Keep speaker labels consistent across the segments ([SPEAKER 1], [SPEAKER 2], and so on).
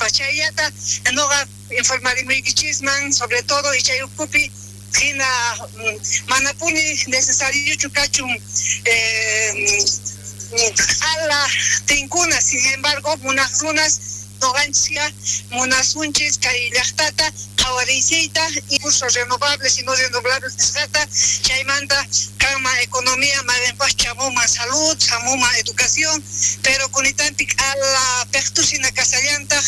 [SPEAKER 1] Nispa chayllata noqa informarimuykichisman, sobre todo y chay ukhupi hina manapuni necesariochu kachun q'ala tinkuna. Sin embargo, munaq runas noqanchis munasunchis kay llaqtata qhawariychiyta, recursos renovables y no renovables nisqata, chaymanta kanman economía, mayqinpaq chamuman salud, chamuman educación, pero kunitampi q'ala peqtusina kasallantaq,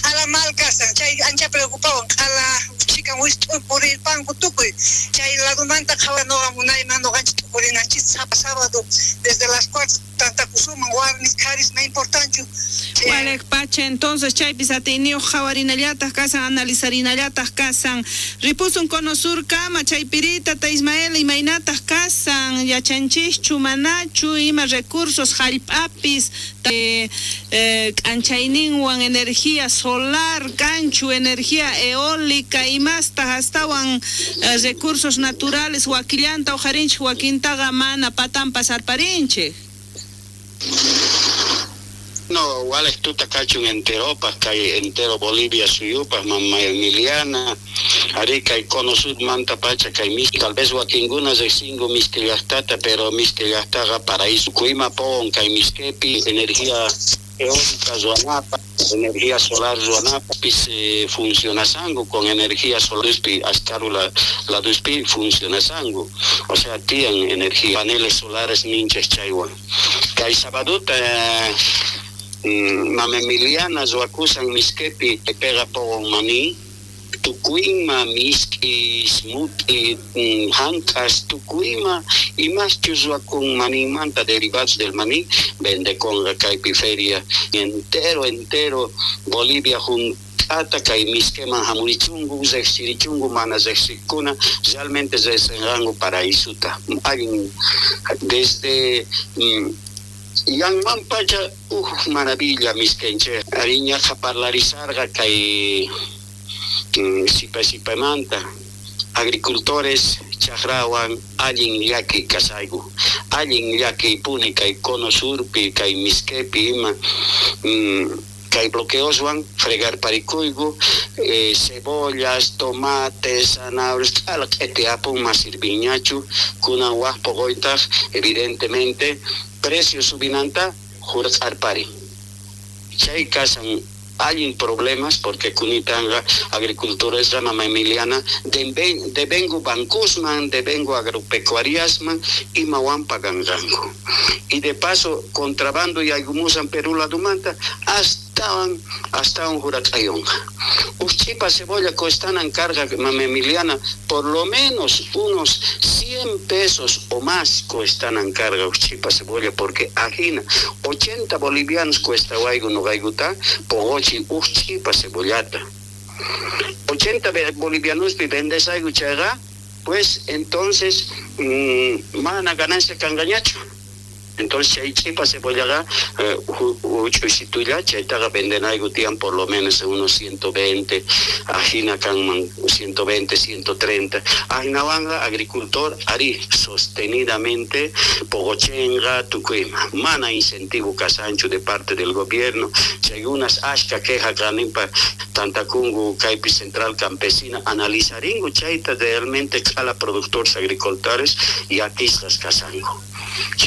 [SPEAKER 1] q'ala mal kasan, chay ancha preocupawan, q'ala chikan wist'u purirpanku tukuy, chay ladumanta qhawa noqa munayman noqanchis t'ukurinanchis sapa sábado desde las 4 tantakusuman, warmis qharis no importanchu.
[SPEAKER 2] Walej pacha, entonces chaypis atiyniyuq qhawarinallataq kasan, analizarinallataq kasan. Ripusun Cono Sur kama, chaypirita ta Ismael, imaynataq kasan, yachanchischu manachu ima recursos hallp'apis k'anchayninwan energía solar kanchu, energía eólica imastaq astawan recursos naturales wakillanta uqharinchik, wakintaqa mana patanpas arparinchik.
[SPEAKER 3] No, walej tuta kachun enteropaj, kay entero Bolivia suyupaj, mama Emiliana, ari kay Cono Sur manta pacha kay miski, tal vez wakinkuna riqsinku miski llaqtata, pero miski llaqtaqa paraíso kuyma pon kay miskepi energía eólica ruwanapaj, energía solar ruwanapaj, funcionasanku con energía solar, askaru laduspi funcionasanku, o sea, tiyan energía, paneles solares ninchas chaywan. Kay sabaduta mama Emiliana ruwakusan miskepi pega pogon maní, tukuyma misk'is, mut'i, hank'as, tukuyma imaschus ruwakun maninmanta derivados del maní, vendeconqa kaypi feria entero, entero Bolivia junt'ata kay miskeman hamurichunku, riqsirichunku, mana riqsiqkuna realmente riqsinqanku paraísuta. Allin desde yanman pacha uj maravilla miskenchej, ariñaqa parlarizarqa kay sipa sipamanta agricultores chajrawan allin llaki kasayku, allin llaki puni kay Cono Surpi, kay miskepi ima, kay bloqueoswan fregar parikuyku, cebollas, tomates, zanahorias, q'ala q'iti apun mas sirviñachu, kunan waj poqoytaq evidentemente precio subinanta jurq'arpari. Chay kasan allin problemas porque kunitanga agricultores mama Emiliana devengo bancosman, devengo agropecuariasman imawan pagangango. Y de paso contrabando y algumusan Perú ladumanta hasta un juracayonga. Uchipa cebolla cuestan carga mama Emiliana por lo menos unos 100 pesos o más cuestan carga uchipa cebolla porque ajina 80 bolivianos cuesta guaygu no gaiguta pogochi uchipa cebollata 80 bolivianos vendes algo chaga, pues entonces mana ganancia cangañacho. Entonces chay chipa cebollaga uchusitulla chaytaqa venden algo tiyan por lo menos unos 120, ajina kanman 120, 130. Ajinawanga agricultor ari sostenidamente pogochenga tukuyma. Mana incentivo kasanchu de parte del gobierno. Chay unas ashka queja kanimpa tantakungu kaypi central campesina analizaringu chayta realmente kala productores agricultores y atistas kasangu.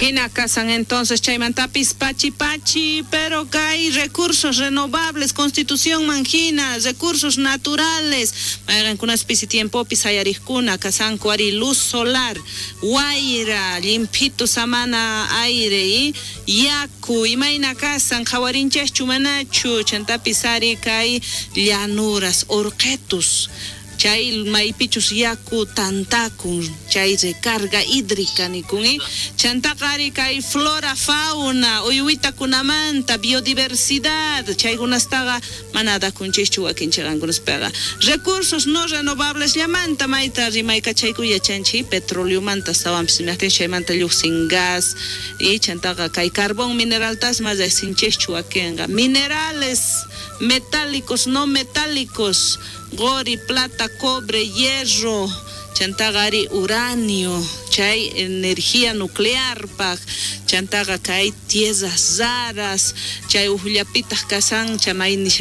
[SPEAKER 2] Hina kasan entonces chaymantapis pachi pachi, pero kay recursos renovables, constitución manjina, recursos naturales, mayqankunas pisi tiempopis hayariqkuna kasanku ari luz solar, wayra, limpito samana aire y yaku, imayna kasan qhawarinchaschu manachu, chantapis ari kay llanuras, urqetus, chay maypichus yaku tantakun, chay recarga hídrica nikun, chantaqari kay flora, fauna, uywitakunamanta, biodiversidad, chaykunastaqa mana dakunchischu wakinchiqankunaspaqa. Recursos no renovables llamanta mayta rimaykachayku yachanchik petroleomanta astawanpis imajtin chaymanta lluqsin gas y chantaqa kay carbón mineraltas mas riqsinchischu wakinqa. Minerales metálicos, no metálicos, gori, plata, cobre, hierro, chantaqa ari uranio, chay energía nuclear paj, chantaqa kay tierras raras, chay ujllapitaq kasan, chamay nisha